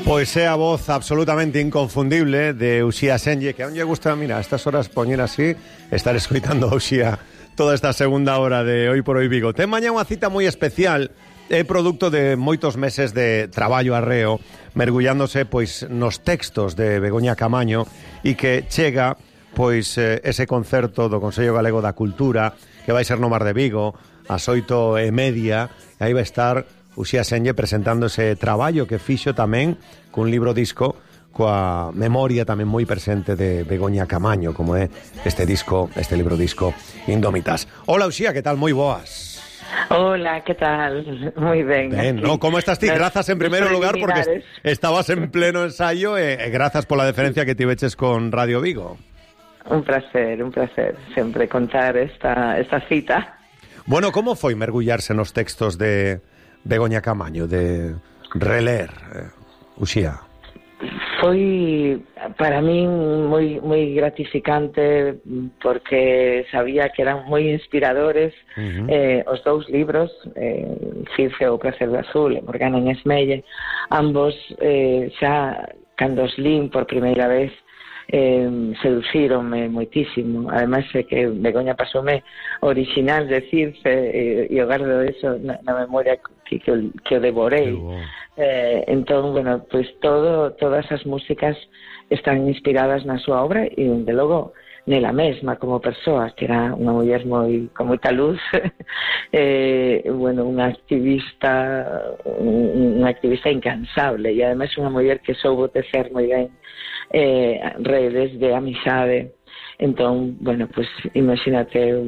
Pois é a voz absolutamente inconfundible de Uxía Senlle, que aún lle gusta, mira, a estas horas poñer así, estar escoitando a Uxía toda esta segunda hora de Hoy por Hoy Vigo. Ten mañá unha cita moi especial, é produto de moitos meses de traballo arreo, mergullándose pois nos textos de Begoña Camaño, e que chega pois ese concerto do Consello Galego da Cultura, que vai ser no Mar de Vigo, ás 8:30, e aí vai estar Uxía Senlle presentando ese traballo que fixo tamén cun libro disco coa memoria tamén moi presente de Begoña Camaño, como é este disco, este libro disco Indómitas. Hola Uxía, que tal? Moi boas. Hola, ¿qué tal? Muy ben. Ben, no, como estás ti? Grazas en primeiro lugar porque estabas en pleno ensayo e grazas pola deferencia que tiveches con Radio Vigo. Un placer sempre contar esta cita. Bueno, como foi mergullarse nos textos de Begoña Camaño, de reler, Uxía? Foi para min moi gratificante porque sabía que eran moi inspiradores os dous libros, Circe o Prazer do Azul e Morgana en Esmelle, ambos xa cando os lín por primeira vez seducíronme moitísimo. Ademais é que Begoña pasoume original de Circe e o gardo eso na memoria que o devorei. Entón, bueno, pues todas as músicas están inspiradas na súa obra e, de logo, nela mesma como persoa, que era unha muller con moita luz, bueno, unha activista incansable, e ademais unha muller que soubo tecer moi ben redes de amizade. Entón, bueno, pues imagínate,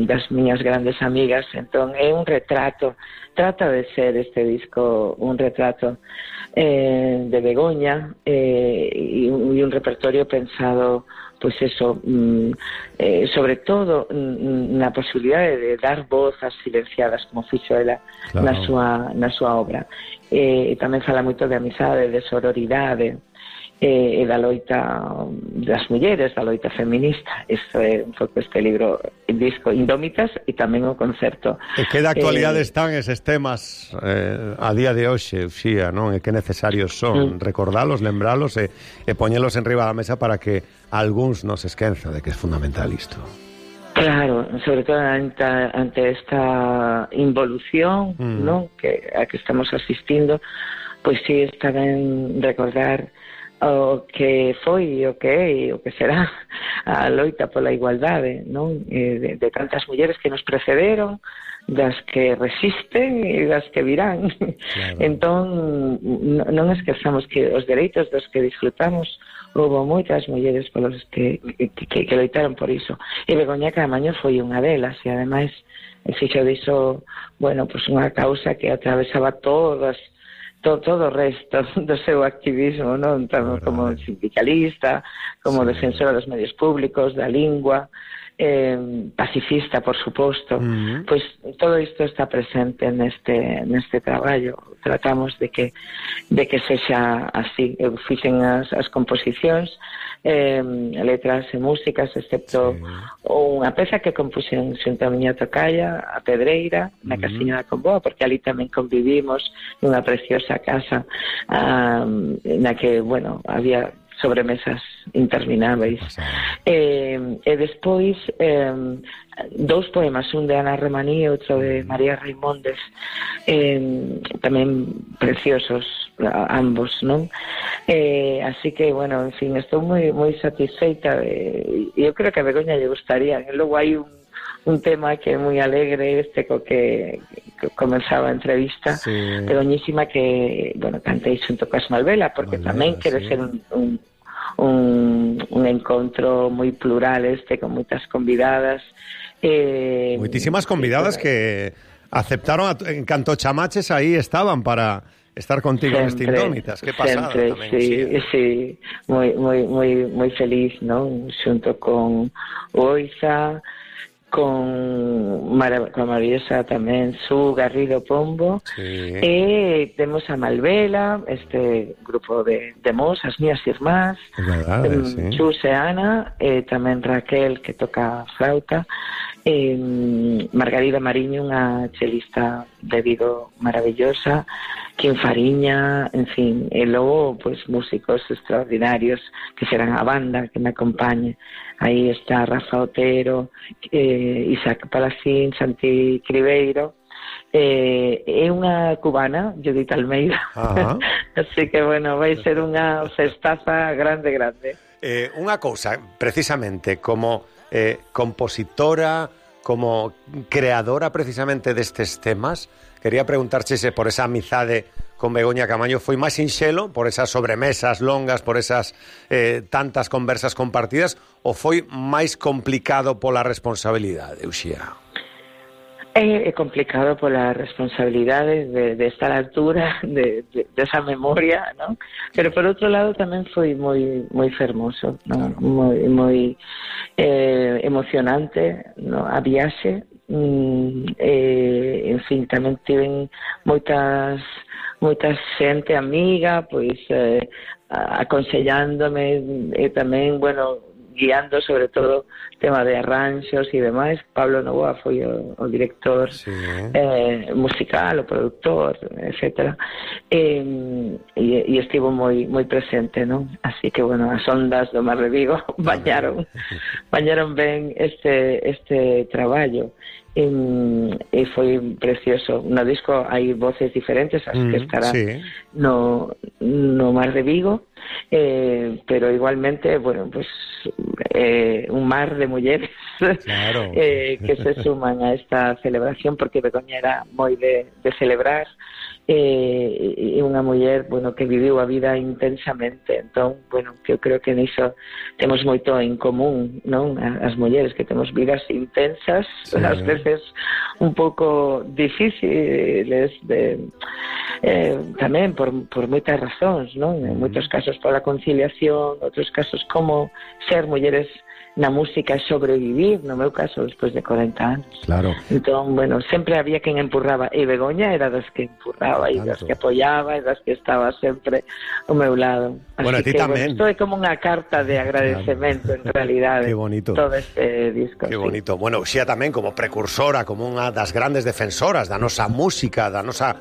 das miñas grandes amigas. Entón, é un retrato, trata de ser este disco un retrato de Begoña e un repertorio pensado, pues eso, sobre todo na posibilidade de dar voz ás silenciadas, como fixo ela, claro, na súa obra. E tamén fala moito de amizade, de sororidade, e da loita das mulleres, da loita feminista. Isto é un pouco este libro, disco Indómitas, e tamén o concerto. E que da actualidade están eses temas a día de hoxe, Uxía, non? E que necesarios son recordalos, lembralos e poñelos en riba da mesa para que algúns non se esquenza de que é fundamental isto. Claro, sobre todo ante esta involución, non? A que estamos asistindo, pois sí, está ben recordar o que foi, o que é e o que será a loita pola igualdade, non? De tantas mulleres que nos precederon, das que resisten e das que virán. Claro. Entón, non esquezamos que os dereitos dos que disfrutamos houve moitas mulleres polos que loitaron por iso. E Begoña Camaño foi unha delas, e ademais fixo diso, bueno, pues unha causa que atravesaba todo o resto do seu activismo, non? Tanto como sindicalista, como defensora dos medios públicos, da lingua, pacifista, por suposto. Pois todo isto está presente neste traballo. Tratamos de que sexa así. Eu fixen as composicións, letras e músicas, excepto unha peza que compuxen xunto a miña tocaya, a Pedreira, na Casiña da Comboa, porque ali tamén convivimos nunha preciosa casa na que, bueno, había sobremesas intermináveis. E despois dous poemas, un de Ana Remaní e outro de María Raimondes, tamén preciosos ambos, non? Así que, bueno, en fin, estou moi satisfeita, e eu creo que a Begoña lle gustaría. E logo hai un tema que é moi alegre, co que comenzaba a entrevista, Begoñísima, que, bueno, cantei xunto coas Malvela, porque tamén quere ser un encontro moi plural con moitas convidadas. Moitísimas convidadas que aceptaron, en canto chamaches aí estaban para estar contigo neste Indómitas. Que pasada tamén. Sí, moi feliz, non? Xunto con Oiza, con maravillosa tamén Su Garrido Pombo, e temos a Malvela, este grupo de mos, as mías irmás, Chus e Ana, e tamén Raquel, que toca flauta, Margarida Mariño, unha chelista de Vigo maravillosa, Kim Fariña, en fin, e logo pues músicos extraordinarios que serán a banda que me acompañe. Aí está Rafa Otero, Isaac Palacín, Santi Cribeiro, é unha cubana, Judith Almeida. Así que, bueno, vai ser unha festaza grande. Unha cousa, precisamente, como compositora, como creadora precisamente destes temas, quería preguntarche se por esa amizade con Begoña Camaño foi máis sinxelo, por esas sobremesas longas, por esas tantas conversas compartidas, ou foi máis complicado pola responsabilidade, Uxía? É complicado pola responsabilidade de estar á altura de esa memoria, ¿no? Pero por outro lado tamén foi moi fermoso, ¿no? Moi emocionante, ¿no? A viaxe, en fin, tamén tiven moita xente amiga, pois aconsellándome e tamén, bueno, guiando sobre todo tema de arranxos e demais. Pablo Novoa foi o director musical, o productor, etcétera, e estivo moi presente, non? Así que, bueno, as ondas do Mar de Vigo bañaron ben este traballo. E foi precioso. No disco hai voces diferentes, as que estarán no Mar de Vigo, pero igualmente, bueno, pues un mar de mulleres, claro. Que se suman a esta celebración, porque Begoña era moi de celebrar, e unha muller, bueno, que viviu a vida intensamente. Entón, bueno, que eu creo que niso temos moito en común, non? As mulleres que temos vidas intensas, ás veces un pouco difíciles tamén por moitas razóns, non? En moitos casos pola conciliación, outros casos como ser mulleres na música e sobrevivir, no meu caso, despois de 40 anos. Claro. Entón, bueno, sempre había quen empurraba, e Begoña era das que empurraba, e das que apoyaba, e das que estaba sempre ao meu lado. Así bueno, a ti que, tamén. Bueno, isto é como unha carta de agradecemento, en realidade. Qué bonito. Todo este disco. Qué bonito. Bueno, Uxía tamén como precursora, como unha das grandes defensoras da nosa música, da nosa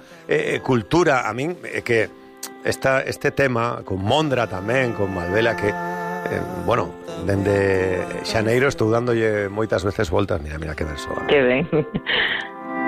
cultura. A min, que este tema, con Mondra tamén, con Malvela, que bueno, dende xaneiro estou dándolle moitas veces voltas. Mira que verso. Que ben.